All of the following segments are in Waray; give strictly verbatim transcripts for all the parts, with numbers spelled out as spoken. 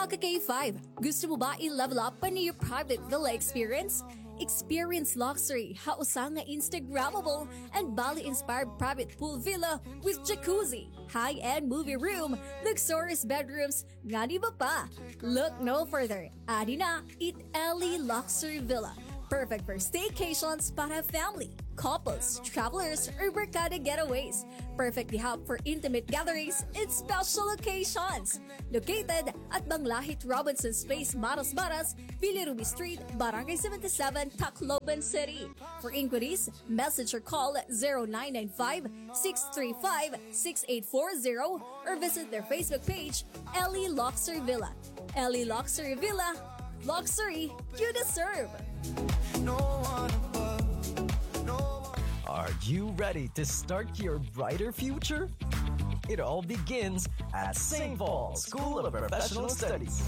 Mga ka-K five, gusto mo ba i-level up pa an iyo private villa experience? Experience luxury ha usa nga Instagrammable and Bali-inspired private pool villa with jacuzzi, high-end movie room, luxurious bedrooms, ngan iba pa. Look no further. Adi na it Ellie Luxury Villa. Perfect for staycations para family, couples, travelers, or barkada getaways. Perfect diha for intimate gatherings and special occasions. Located at Banglahit Robinson's Place, Maras Maras, Villa Ruby Street, Barangay seventy-seven, Tacloban City. For inquiries, message or call zero nine nine five, six three five, six eight four zero or visit their Facebook page, Ellie Luxury Villa. Ellie Luxury Villa, luxury you deserve. No one above, no one. Are you ready to start your brighter future? It all begins at Saint Paul's School of Professional Studies.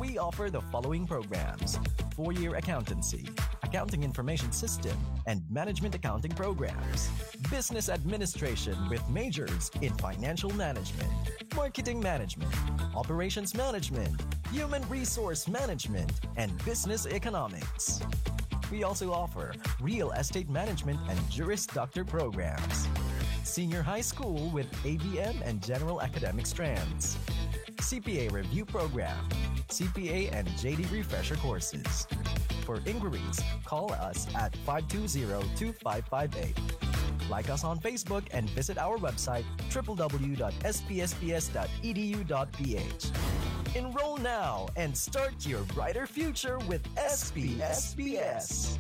We offer the following programs: four-year accountancy, accounting information system, and management accounting programs, business administration with majors in financial management, marketing management, operations management, human resource management, and business economics. We also offer real estate management and Juris Doctor programs, senior high school with A B M and general academic strands, C P A review program, C P A and J D refresher courses. For inquiries, call us at five two zero, two five five eight. Like us on Facebook and visit our website, triple W dot S P S P S dot E D U dot P H. Enroll now and start your brighter future with S P S P S.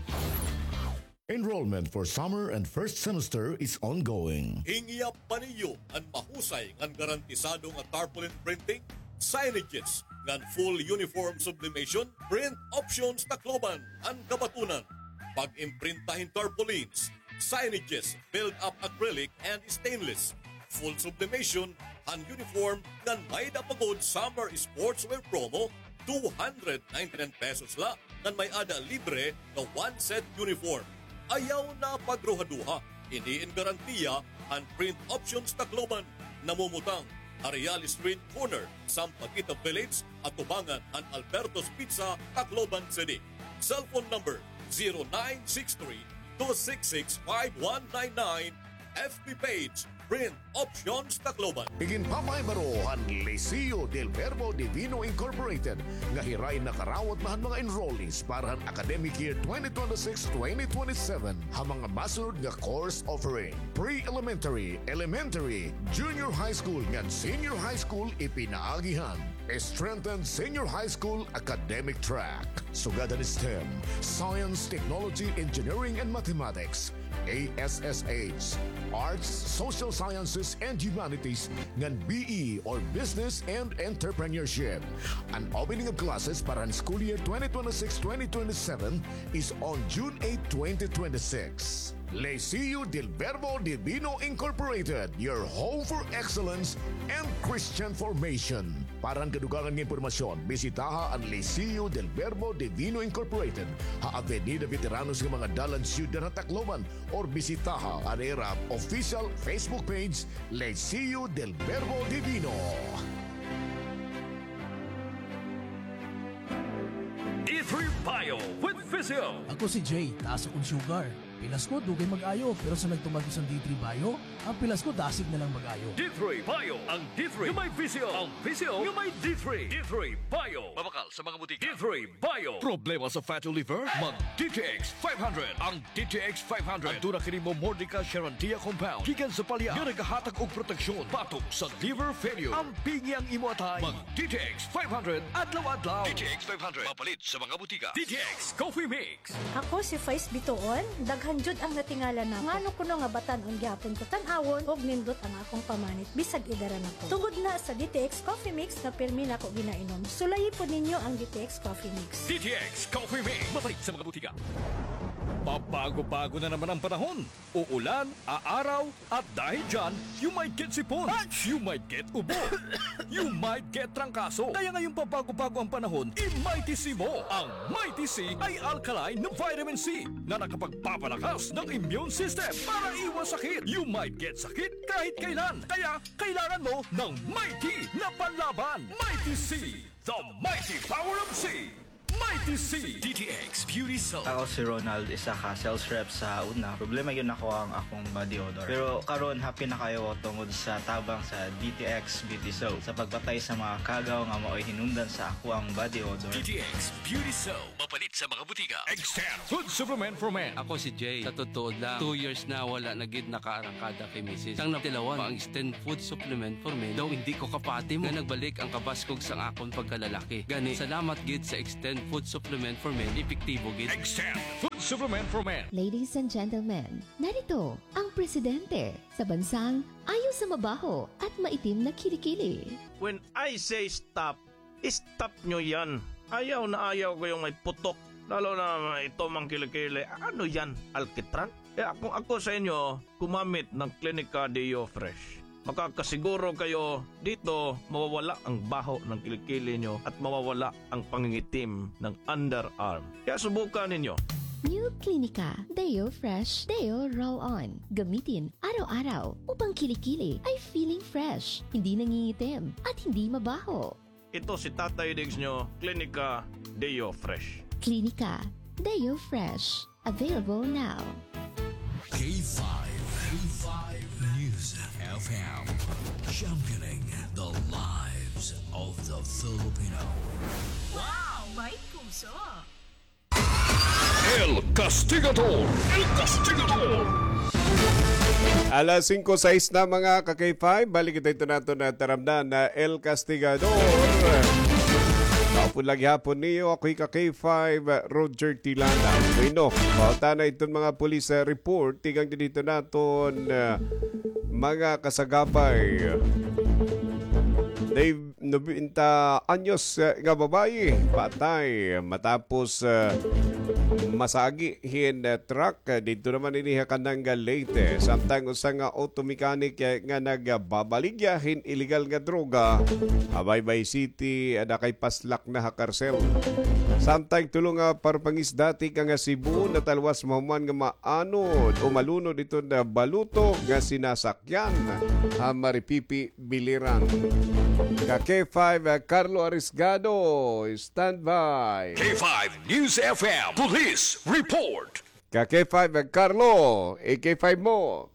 Enrollment for summer and first semester is ongoing. Hingiya pa niyo an mahusay ngan garantisado nga tarpaulin printing, signages, ngan full uniform sublimation, Print Options Tacloban an kabatunan. Pag-imprinta hin tarpaulins, signages, build-up acrylic and stainless, full sublimation han uniform ngan may-ada pa gud summer sportswear promo, two hundred ninety-nine pesos la ngan may-ada libre nga one set uniform. Ayaw na pagruhaduha, ini in garantiya han Print Options Tacloban, namumutang ha Real Street corner, Sampaguita Village, atubangan han Alberto's Pizza, Tacloban City. Cellphone number zero nine six three, two six six, five one nine nine. F B page, Print Options Tacloban. Iginpapahibaroan han Liceo del Verbo Divino Incorporated nga hiray nakarawat na han mga enrollees para han academic year twenty twenty-six twenty twenty-seven ha mga masunod nga course offering: pre-elementary, elementary, junior high school ngan senior high school ipinaagi han strengthened senior high school academic track, sugad han STEM, Science, Technology, Engineering, and Mathematics, A S S H, Arts, Social Sciences, and Humanities, ngan B E or Business and Entrepreneurship. An opening of classes para han school year twenty twenty-six twenty twenty-seven is on June eight, twenty twenty-six. Liceo del Verbo Divino Incorporated, your home for excellence and Christian formation. Para han kadugangan nga impormasyon, bisitaha an Liceo del Verbo Divino Incorporated ha Avenida Veteranos nga mga dalan, Syudad han Tacloban, or bisitaha an ira official Facebook page, Liceo del Verbo Divino. D three Bio with Physio. Ako si Jay, taas akon sugar. Pilas ko, dugay mag-ayo, pero sa nagtumar ko san D three Bio, an pilas ko dasig na lang mag-ayo. D three Bio, ang D three nga may Physio, ang Physio nga may D three. D three Bio. Mabakal sa mga butika. D three Bio. Problema sa fatty liver? Mag D T X five hundred. Ang D T X five hundred. Aduna kini Momordica charantia compound gikan sa palya nga nagahatag og proteksyon batok sa liver failure. Ampingi ang imo atay. Mag D T X five hundred adlaw-adlaw. D T X five hundred. Mapalit sa mga butika. D T X Coffee Mix. Ako si Faiz Bituon, daghan jud ang natingala nako. Ngano kuno nga batan-on gihapon ko tan-awon ug nindot ang akong pamanit bisag edara na ko. Tungod na sa D T X Coffee Mix nga pirmi nako ginainom. Sulayi pod ninyo ang D T X Coffee Mix. D T X Coffee Mix. Mapalit sa mga butika. Pabago-bago na naman ang panahon. Uulan, aaraw, at dahil dyan, you might get sipon, you might get ubo, you might get trangkaso. Kaya ngayong pabago-bago ang panahon, i-Mighty C mo. Ang Mighty C ay alkaline na vitamin C na nakapagpapalakas ng immune system para iwas sakit. You might get sakit kahit kailan. Kaya kailangan mo ng Mighty na panlaban. Mighty C, the mighty power of C. Mighty C. D T X Beauty Soap. Ako si Ronald, isa ka sales rep sa una. Problema gyud nako ang akong body odor. Pero karon, happy na kaayo ko tungod sa tabang sa D T X Beauty Soap. Sa pagpatay sa mga kagaw nga maoy hinungdan sa ako ang body odor. D T X Beauty Soap. Mapalit sa mga butika. Extend Food Supplement for Men. Ako si Jay. Sa tutuod lang, two years na wala na gid nakaarangkada kay misis. Sang natilawan, ang Extend Food Supplement for Men, daw hindi ko kapati mo nga nagbalik ang kabaskog sang akon pagkalalaki. Gani, salamat gid sa Extend Food Supplement for Men, epektibo gid. Extend Food Supplement for Men. Ladies and gentlemen, narito ang presidente sa bansang ayo sa mabaho at maitim na kilikili. When I say stop, stop nyo yan. Ayaw na ayaw ko yung may putok. Lalo na ito mang kilikili. Ano yan? Alkitran? Kaya kung ako sa inyo, gumamit ng Clinica Deo Fresh. Makakasiguro kayo dito mawawala ang baho ng kilikili nyo at mawawala ang pangingitim ng underarm. Kaya subukan ninyo. New Clinica Deo Fresh Deo Roll On. Gamitin araw-araw upang kilikili ay feeling fresh, hindi nangingitim, at hindi mabaho. Ito si Tatay Diggs nyo, Clinica Deo Fresh. Clinica Deo Fresh. Available now. K five, K five News F M, championing the lives of the Filipino. Wow! May puso! El Castigador! El Castigador! Alas singko sais na, mga ka-K five. Balik kita ito nato na taramdan na El Castigador. Maupod la gihapon niyo, ako hi ka-K five, Roger Tilana. Bueno, pauta na iton mga police, ah, report. Tikang didto naton, ah, mga kasagabay. Dave Nobenta anyos, eh, nga babayi patay matapos, eh, masagi hin, eh, truck, eh, didto naman ini ha Canangal, Leyte. Samtang usa nga auto mechanic, eh, nga nagbabaligya hin illegal nga droga ha Baybay City, eh, nakaipaslak na ha karsel. Samtang tulo nga parpangisda tikang ha Cebu natalwas mahuman nga maanod o malunod iton baluto nga sinasak yan ha Maripipi, Biliran. Ka K five, ah, Carlo Arisgado, standby. K five News F M Police Report. Ka K five, ah, Carlo, i-K five mo.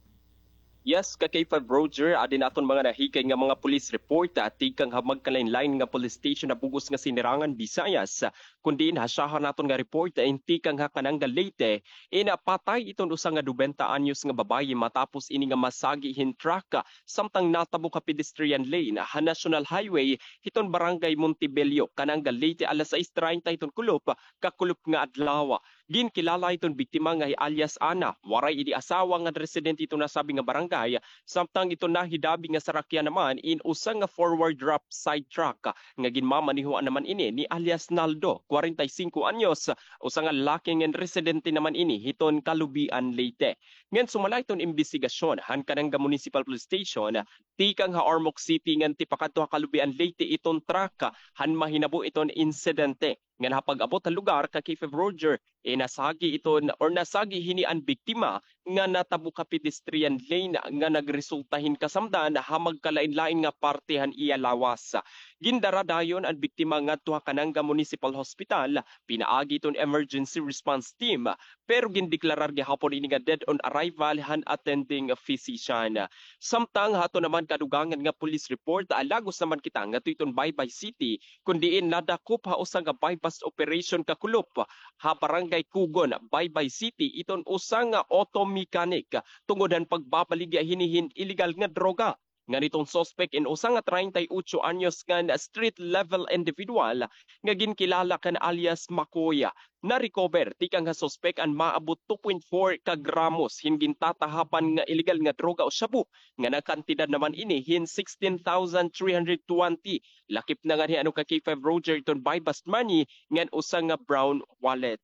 Yes, ka K five Roger, adi na aton mga nahikay nga mga police report, ah, tikang ha magkalain-lain nga police station ha bug-os nga Sinirangan, Visayas. Kun diin hasyahan naton nga report, ah, in tikang ha Canangal, Leyte, in, ah, patay iton usa nga nobenta anyos nga babayi matapos ini nga masagi hin truck, ah, samtang natabok ha pedestrian lane, ah, ha National Highway, hiton Barangay Montebello, Canangal, Leyte, alas sais treinta hiton kulop, ah, kakulop nga adlaw. Ginkilala iton biktima nga hi alias Ana, waray ini asawa ngan residente iton nasabi nga barangay, samtang iton nahidabi nga sarakyan naman in usa nga forward wrap side truck nga ginmamanehoan naman ini ni alias Naldo, kwarenta y singko anyos, usa nga lalaki ngan residente naman ini hiton Calubian, Leyte. Ngan sumala iton imbestigasyon han Canangal Municipal Police Station, tikang ha Ormoc City ngan tipakadto ha Calubian, Leyte iton truck han mahinabo iton insidente. Ngan ha pag-abot ha lugar ka K five Roger, eh, nasagi iton or nasagi hini an biktima nga natabok ha pedestrian lane nga nagresulta hin kasamdan ha magkalain-lain nga parte han iya lawas. Gindara dayon an biktima ngadto ha Canangal Municipal Hospital pinaagi iton emergency response team, pero gindeklarar gihapon ini nga dead on arrival han attending physician. Samtang ha aton naman kadugangan nga police report, ah, lagos naman kita ngadto iton Baybay City, kun diin nadakop ha usa nga buy-bust operation kakulop ha Barangay Kugon, Baybay City, iton usa nga auto mechanic tungod han pagbabaligya hini hin illegal nga droga. Ngan iton suspek in usa nga treinta y ocho anyos ngan street level individual nga ginkilala kan alias Makoy. na-recover tikang ha suspek an maabot two point four ka gramos hin gintatahapan nga illegal nga droga o shabu, nga nakantidad naman ini hin sixteen thousand three hundred twenty. Lakip na nganhi ano ka K five Roger iton buy-bust money ngan usa nga brown wallet.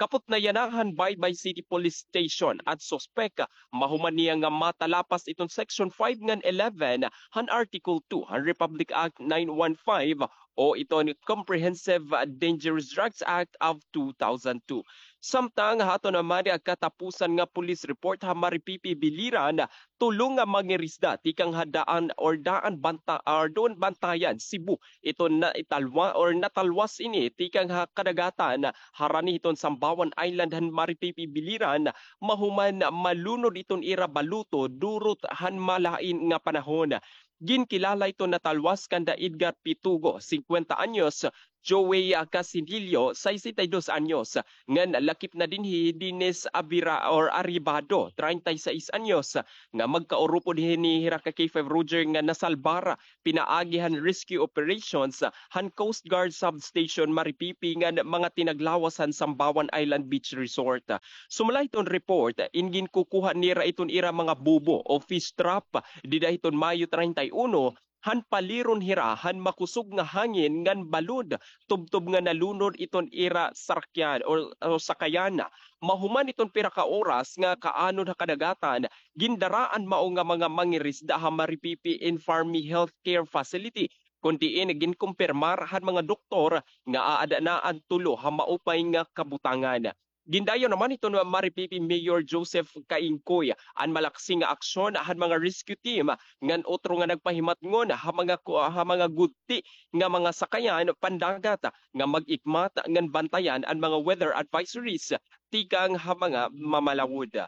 Kapot na yana han Baybay City Police Station an suspek, mahuman niya nga matalapas iton Section five ngan eleven han Article two han Republic Act nine one five o iton Comprehensive Dangerous Drugs Act of two thousand two. Samtang ha aton naman nga katapusan nga police report ha Maripipi Biliran, tulo nga mangirisda tikang ha daan or daan banta or doon Bantayan, Cebu, iton naitalwa or natalwas ini tikang ha kadagatan harani hiton Sambawan Island han Maripipi Biliran, mahuman malunod iton ira baluto durot han malain nga panahon. Ginkilala iton natalwas kanda Edgar Pitugo, singkwenta anyos, Joey, ah, Casinillo, sesenta y dos anyos, ngan lakip na dinhi hi Dennis Abira or Arribado, treinta y seis anyos, nga magkaurupod hini hira ka K five Roger nga nasalbar pinaagi han rescue operations han Coast Guard Substation Maripipi ngan mga tinaglawas han Sambawan Island Beach Resort. Sumala hiton report, in ginkukuha nira iton ira mga bubo o fish trap dida hiton Mayo treinta y uno, han paliron hira han makusog nga hangin ngan balod, tubtob nga nalunod iton ira sarakyan o, o sakayan. Mahuman iton pira ka oras nga kaanod ha kadagatan, gindaraan mao nga mga mangirisda ha Maripipi Infarmi Healthcare Facility, kun diin ginkumpirmar han mga doktor nga aada na an tulo ha maupay nga kabutangan. Gindayaw naman hiton Maripipi Mayor Joseph Kaingkoy an malaksi nga aksyon han mga rescue team ngan otro nga nagpahimatngon ha mga ku-, ha mga gudti nga mga sakayan pandagat nga mag-ikmat ngan bantayan an mga weather advisories tikang ha mga mamalawod.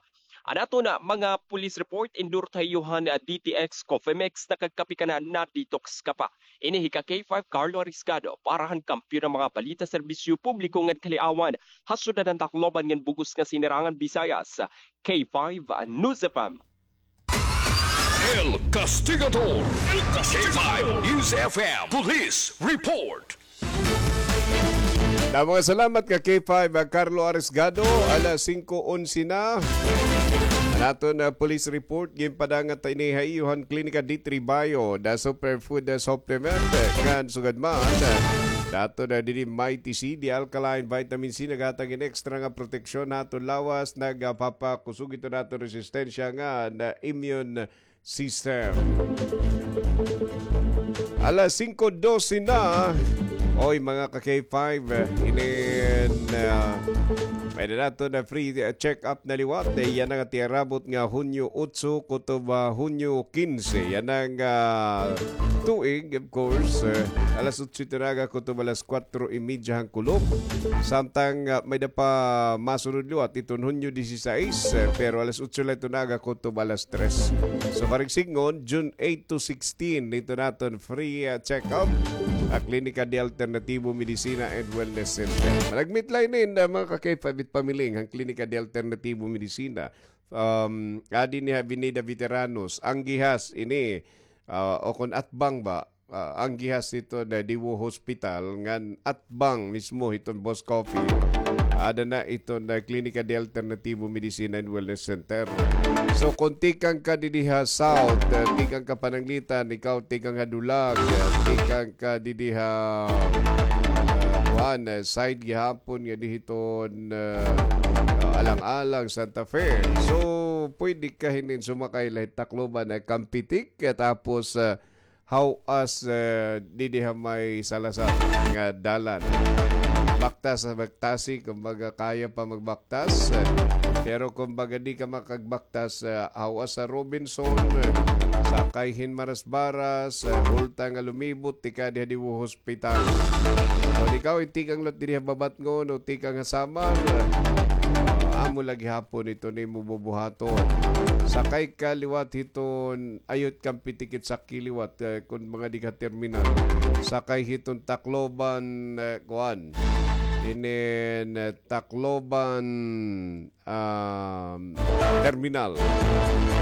An aton mga police report, endorse ha iyo han D T X Coffee Mix, nakagkape ka na, na-detox ka pa. Ini hi ka K five Carlo Ariscado para han kampiyon nga mga balita, serbisyo publiko ngan kaliawan ha syudad han Tacloban ngan bug-os nga Sinirangan Visayas, K five News F M. El Castigador, K five News F M Police Report. Damo nga salamat ka K five, ah, Carlo Arisgado, alas singko onse na. An aton, ah, police report, ginpadangat ini ha iyo han Klinika D three Bio, the superfood, ah, supplement, eh, ngan sugad man, eh, dato na didi Mighty C, the alkaline vitamin C, naghatag hin extra nga proteksyon ha aton lawas, nagapapakusog ito naton resistensya nga na immune system. Alas singko dose na. Oy, mga ka K five, eh, inin, ah, may na nato na free, eh, check-up na liwat. Eh, yana nga tiarabot nga Hunyo otso kutob, ah, Hunyo kinse. Yana nga, ah, tuig, of course, eh, alas otso ito nga aga kutob alas kwatro y media han kulop. Samtang, ah, may da pa masunod liwat iton Hunyo disisais, eh, pero alas otso la ito nga aga kutob alas tres. So, karuyag sidngon, June eight to sixteen, dito naton free, ah, check-up ha Klinika de Alternativo Medicina and Wellness Center. Managmit la inin, ah, mga ka-K five, it pamiling han Klinika de Alternativo Medicina. Um, adi ini ha Avenida Veteranos, anggihas ini, ah, o kon atbang ba, ah, anggihas hiton, ah, Daewoo Hospital, ngan atbang mismo hiton Boss Coffee. Ada na iton, ah, Klinika de Alternativo Medicina and Wellness Center. So, kon tikang ka didi ha South, ah, tikang ka Pananglitan, ikaw tikang ha Dulag, ah, tikang ka didi ha, ah, kuan, ah, side gihapon nga didi hiton, ah, ah, Alang-alang, Santa Fe. So, pwede ka hinin sumakay la hit Tacloban, ah, Campetic, ah, tapos, ah, Haw-as, eh, didi ha may Salazar nga dalan. Baktas, baktasi, kumbaga kaya pa magbaktas. Eh, pero kumbaga di ka makagbaktas, eh, haw-as ha Robinson, eh, sakay hin Marasbaras, eh, ulta nga lumibot, tikang didi ha Daewoo Hospital. O ikaw, itikang liwat didi ha Babatngon o tikang ha Samar, eh, amo la gihapon ito nimo bubuhaton. Sakay ka liwat hiton Ayot Campetic it sakay liwat, eh, kon mga di ka terminal. Sakay hiton Tacloban, eh, kuan. inin, uh, Tacloban, um, terminal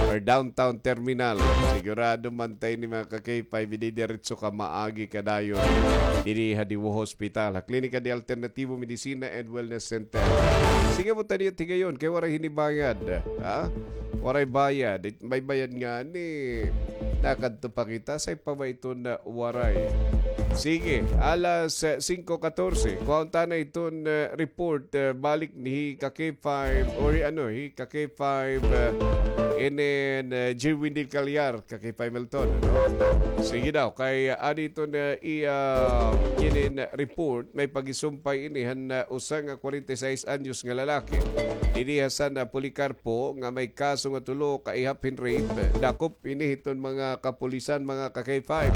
or downtown terminal. Sigurado man ta ini, mga ka-K five, ididiretso ka maagi kadayon diri ha Diwo Hospital, ha Klinika de Alternativo Medicina and Wellness Center. Sige mo tani higayon kay waray hini bayad, ha? Waray bayad. It-, may bayad ngani. Nakadto pa kita, say pa ba ito na waray? Sige, alas, eh, singko katorse. Kuhaon ta na iton, eh, report, eh, balik ni ka-K five, or ano, hi ka-K five, eh, inin, eh, Jerwin Del Callar, ka-K five Milton, ano? Sige daw, kay, ah, adi iton, eh, iya, inin report, may pagisumpay ini han, ah, usa nga kwarenta y seis anyos nga lalaki. Dinhi ha San Policarpo nga may kaso nga tulo ka ihap hin rape. Dakop ini hiton mga kapulisan, mga ka-K five.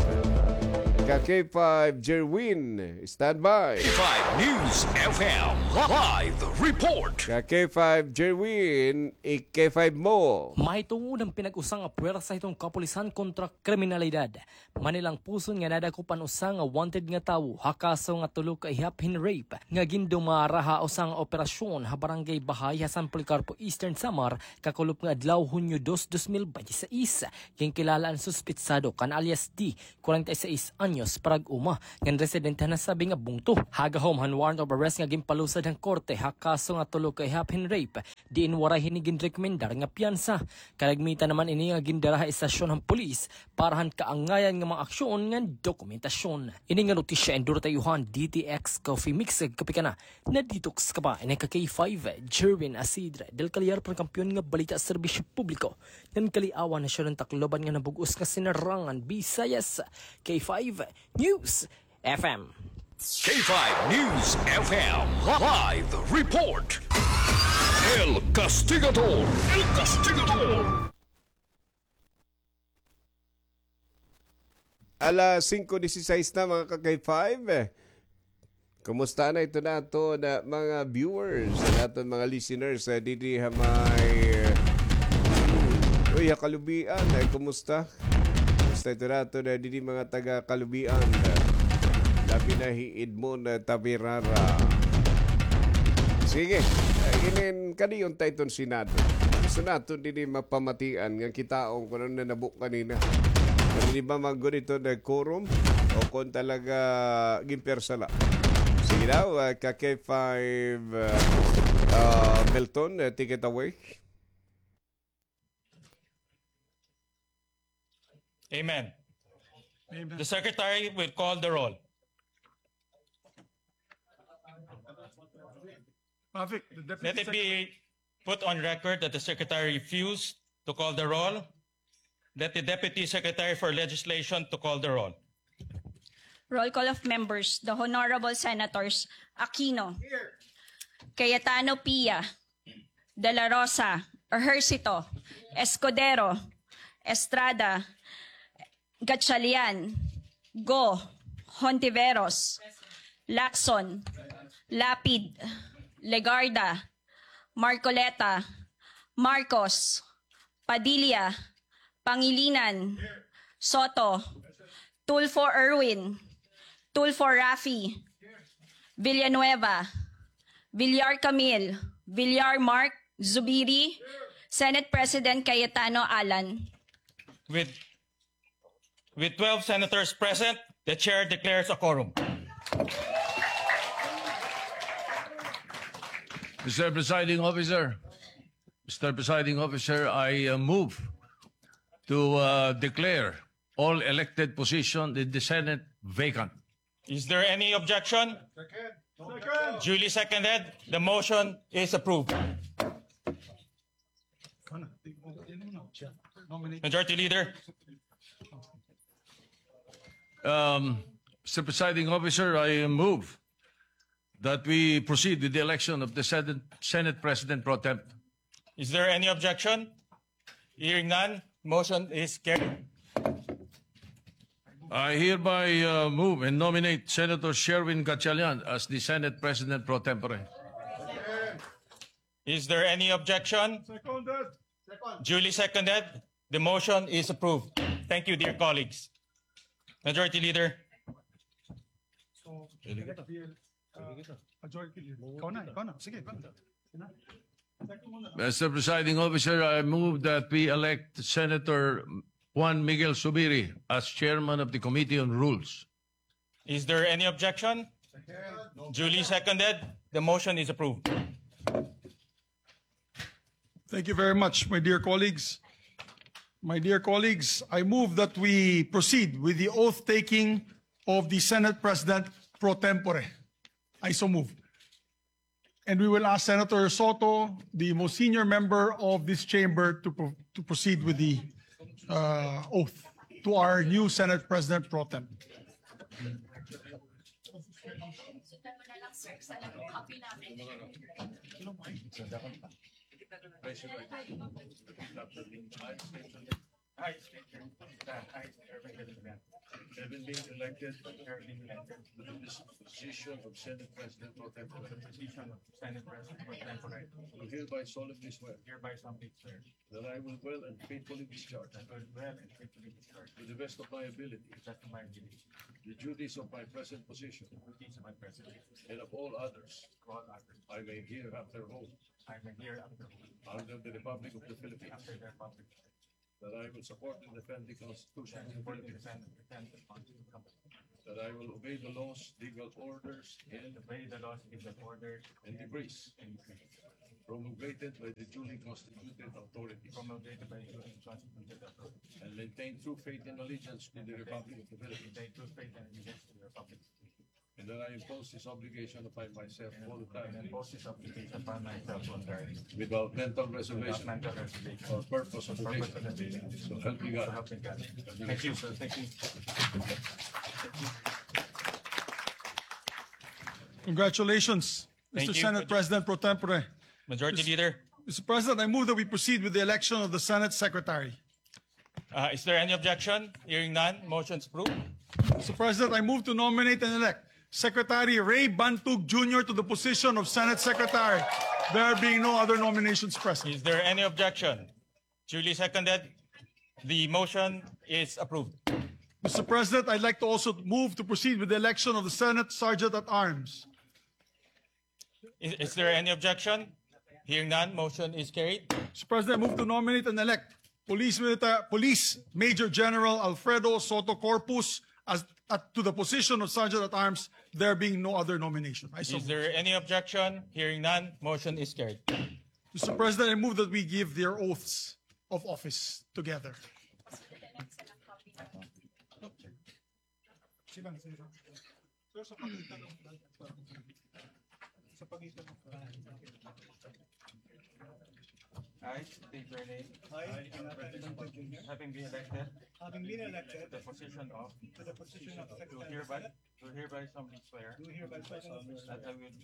Ka-K five, Jerwin, standby. K five News F M live report. Ka-K five, Jerwin, i-K five mo. Mahitungod han pinag-usa nga puwersa hiton kapulisan kontra kriminalidad, manilangpuson nga nadakop an usa nga wanted nga tawo ha kaso nga tulo ka ihap hin rape nga gindumara ha usa nga operasyon ha Barangay Bahay ha San Policarpo, Eastern Samar, kakulop nga adlaw, Hunyo dos, dos mil bente seis. Ginkilala an suspetsado kan alias D, kwarenta y seis anyos, parag-uma, ngan residente han nasabi nga bungto. Ha gahom han warrant of arrest nga ginpalusad han korte ha kaso nga tulo ka ihap hin rape, diin waray hini ginrekomendar nga piyansa. Kalagmitan naman ini nga gindara ha estasyon han pulis para han kaangayan nga mga aksyon ngan dokumentasyon. Ini nga notisya endorso ha iyo han D T X Coffee Mix, kape ka na, na-detox ka pa. Ini ka-K five, Jerwin Asidre Del Callar, para han Kampiyon nga Balita, Serbisyo Publiko, ngan Kaliawan, Nasyon han Tacloban ngan han bug-os nga Sinarangan Visayas. K five News F M. K five News F M live report. El Castigador. El Castigador. Alas singko disisais na, mga ka-K five. Kumusta na iton aton mga viewers, an aton mga listeners, eh, didi ha may, eh, uy, ha Kalubian, eh, kumusta? Kumusta iton aton, eh, didi mga taga Kalubian? Labi na hi Edmond, eh, Taberara. Sige, eh, inin, kadayon ta iton Senado. Gusto naton didi mapamatian nga kitaon kun ano nanabo kanina. Kun didi ba man gud iton quorum o kun talaga ginpiyansa la. Sige daw, ah, ka-K five, ah, ah, Milton, ah, take it away. Amen. Amen. The secretary will call the roll. Mavic, the deputy secretary. Let it be put on record that the secretary refused to call the roll. Let the deputy secretary for legislation to call the roll. Roll call of members, the Honorable Senators Aquino, here. Cayetano Pia, De La Rosa, Ejercito, Escudero, Estrada, Gatchalian, Go, Hontiveros, Lacson, Lapid, Legarda, Marcoleta, Marcos, Padilla, Pangilinan, Soto, Tulfo Erwin, Tulfo Raffy, Villanueva, Villar Camille, Villar Mark, Zubiri, Senate President Cayetano Alan. With, with twelve senators present, the chair declares a quorum. Mister Presiding Officer, Mister Presiding Officer, I, uh, move to, uh, declare all elected positions in the Senate vacant. Is there any objection? Second. Second. Duly seconded. The motion is approved. Majority Leader. Um, Mister Presiding Officer, I move that we proceed with the election of the Senate, Senate President pro tem. Is there any objection? Hearing none, motion is carried. I hereby, uh, move and nominate Senator Sherwin Gatchalian as the Senate President pro tempore. Is there any objection? Seconded. Second. Duly seconded. The motion is approved. Thank you, dear colleagues. Majority Leader. So, Majority Leader. Ikaw na, ikaw na. Sige, ikaw na. Mister Presiding Officer, I move that we elect Senator Juan Miguel Zubiri as chairman of the Committee on Rules. Is there any objection? Duly seconded. The motion is approved. Thank you very much, my dear colleagues. My dear colleagues, I move that we proceed with the oath-taking of the Senate President pro tempore. I so move. And we will ask Senator Soto, the most senior member of this chamber, to pro-, to proceed with the, uh, oath to our new Senate President pro tem. Having been elected, having been elected to this position of Senate President pro tempore, position of Senate President pro tempore, do hereby solemnly swear, hereby solemnly swear that I will well and faithfully discharge, that I will well and faithfully discharge, to the best of my ability, to the best of my ability, the duties of my present position, the duties of my present position, and of all others, all others, I may hereafter hold, I may hereafter hold, under the Republic of the Philippines, under the Republic of the Philippines. That I will support and defend the Constitution of the Philippines. That I will obey the laws, legal orders, and obey the laws, legal orders, and decrees, and decrees, promulgated by the duly constituted authorities, promulgated by the duly constituted authorities, and maintain true faith and allegiance to the Republic of the Philippines. Maintain true faith and allegiance to the Republic of the Philippines. And that I impose this obligation upon myself voluntarily. And impose this obligation upon myself voluntarily. Without mental reservation. Without mental reservation. Or purpose of evasion. Or purpose of evasion. So help me God. So help me God. Thank you, sir. Thank you. Congratulations, Mister Senate President pro tempore. Majority Leader. Mister President, I move that we proceed with the election of the Senate Secretary. Uh, is there any objection? Hearing none, motion is approved. Mister President, I move to nominate and elect Secretary Ray Bantug Junior to the position of Senate Secretary, there being no other nominations present. Is there any objection? Duly seconded. The motion is approved. Mister President, I'd like to also move to proceed with the election of the Senate Sergeant at Arms. Is, is there any objection? Hearing none, motion is carried. Mister President, I move to nominate and elect Police Milita-, Police Major General Alfredo Soto Corpus as, at, to the position of Sergeant at Arms, there being no other nomination. I so move. Is there any objection? Hearing none, motion is carried. Mister President, I move that we give their oaths of office together. Sir, sa pagitan ng, sa pagitan ng I state your name. I, President Junior. Having been elected. Having been elected. To the position of. To the position of Secretary of State. Do hereby, do hereby solemnly swear. Do hereby solemnly swear. That I will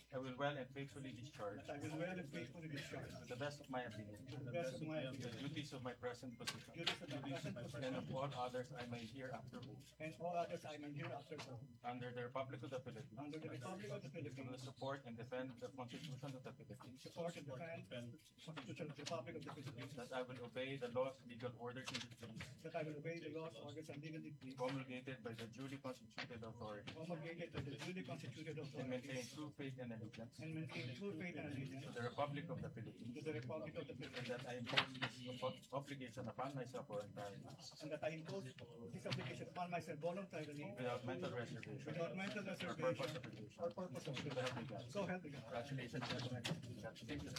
I will well and faithfully discharge. That I will well and faithfully discharge. To the best of my ability. To the best of my ability. The duties of my present position. Duties of my present position. And of all others I may hereafter hold. And all others I may hereafter hold. Under the Republic of the Philippines. Under the Republic of the Philippines. To support and defend the Constitution of the Philippines. Support and defend the Constitution of the Republic of the Philippines. That I will obey the laws, legal orders, and decrees. That I will obey the laws, orders, and legal decrees. Promulgated by the duly constituted authority. Promulgated by the duly constituted authority. And maintain true faith and allegiance. And maintain true faith and allegiance. To the Republic of the Philippines. To the Republic of the Philippines. And that I impose this ob-, obligation upon myself voluntarily. And that I impose this obligation upon myself voluntarily. Without mental reservation. Without mental reservation. Or purpose of evasion. Or purpose of evasion. So help me God. So help me God. Congratulations, gentlemen. Congratulations.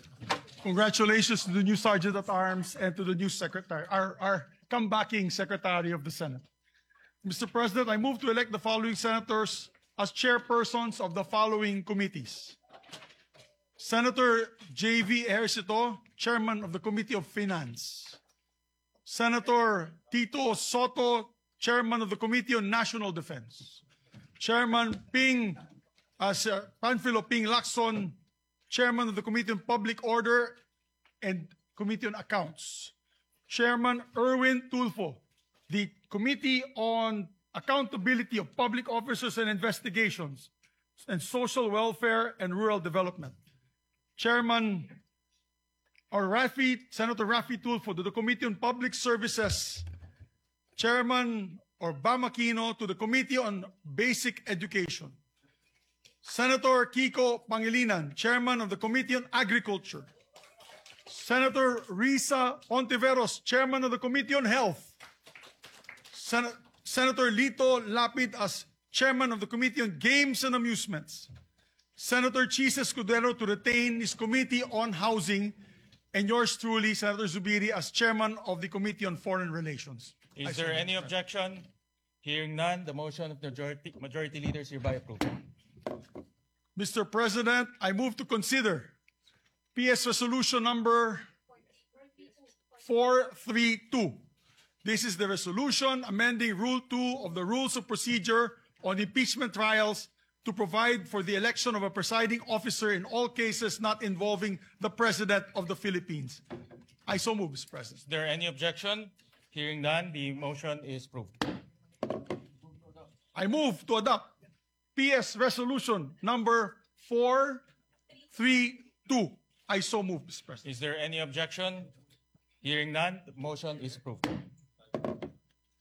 Congratulations to the new Sergeant at Arms and to the new Secretary, our, our comebacking Secretary of the Senate. Mister President, I move to elect the following senators as chairpersons of the following committees. Senator J V Ejercito, Chairman of the Committee of Finance. Senator Tito Soto, Chairman of the Committee on National Defense. Chairman Ping, uh, Sir Panfilo Ping Lacson, Chairman of the Committee on Public Order and Committee on Accounts. Chairman Erwin Tulfo, the Committee on Accountability of Public Officers and Investigations and Social Welfare and Rural Development. Chairman or Raffy, Senator Raffy Tulfo to the Committee on Public Services, Chairman or Bam Aquino to the Committee on Basic Education. Senator Kiko Pangilinan, Chairman of the Committee on Agriculture. Senator Risa Ontiveros, Chairman of the Committee on Health. Sen- Senator Lito Lapid as Chairman of the Committee on Games and Amusements. Senator Chiz Escudero to retain his Committee on Housing, and yours truly, Senator Zubiri, as Chairman of the Committee on Foreign Relations. Is there any objection? Hearing none, the motion of majority, majority leader is hereby approved. Mister President, I move to consider P S Resolution number four three two. This is the resolution amending Rule two of the Rules of Procedure on impeachment trials to provide for the election of a presiding officer in all cases not involving the President of the Philippines. I so move, Mister President. Is there any objection? Hearing none, the motion is approved. I move to adopt P S Resolution number four three two. I so move, Mister President. Is there any objection? Hearing none, the motion is approved.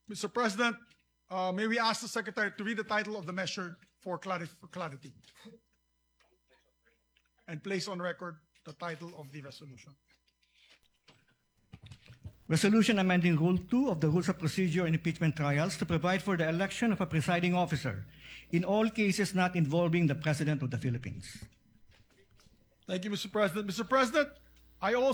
Mister President, uh, may we ask the Secretary to read the title of the measure for clari- for clarity? And place on record the title of the resolution. Resolution amending Rule two of the Rules of Procedure in Impeachment Trials to provide for the election of a presiding officer in all cases not involving the President of the Philippines. Thank you, Mister President. Mister President, I also